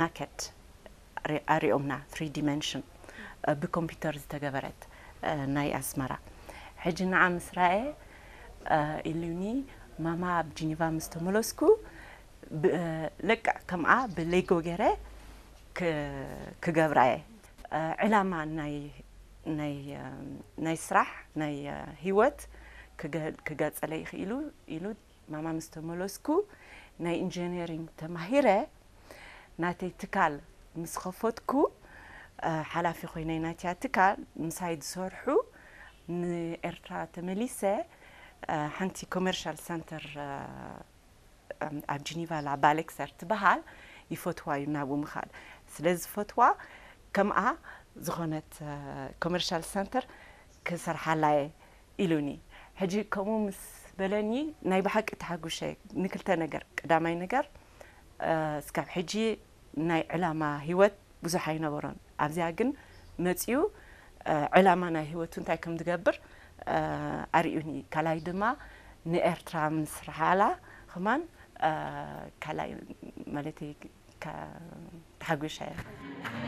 ናከድ ኣሪኦምና፣ ትሪ ዲመንሽን ብኮምፒውተር ዝተገበረት ናይ ኣስመራ። ሕጂ ንዓ ምስ ረኣየ ኢሉኒ፣ ማማ ኣብ ጂኒቫ ምስ ተመለስኩ ለቅዕ ከምኣ ብሌጎ ገይረ ክገብራ እየ። ዕላማ ናይ ስራሕ፣ ናይ ህይወት ክገጸለይ ይኽእሉ ኢሉ ማማ ምስ ተመለስኩ ናይ ኢንጂነሪንግ ተማሂረ ናተይ ትካል ምስ ኸፈትኩ ሓላፊ ኮይነ ናትያ ትካል ምሳይ ዝሰርሑ ንኤርትራ ተመሊሰ ሓንቲ ኮመርሻል ሰንተር ኣብ ጂኒቫ ላባሌክሰር ትበሃል ይፈትዋ እዩ ናብኡ ምኻድ ስለ ዝፈትዋ ከምኣ ዝኾነት ኮመርሻል ሰንተር ክሰርሓላየ ኢሉኒ። ሕጂ ከምኡ ምስ በለኒ ናይ ብሓቂ ተሓጉሸ። ንክልተ ነገር፣ ቀዳማይ ነገር እስካብ ሕጂ ናይ ዕላማ ህይወት ብዙሕ ኣይነበሮን። ኣብዚኣ ግን መፅዩ ዕላማ ናይ ህይወቱ እንታይ ከም ዝገብር ኣርእዩኒ። ካልኣይ ድማ ንኤርትራ ምስ ረሓላ ከማን ካልኣይ ማለት ተሓጒሻ እየ።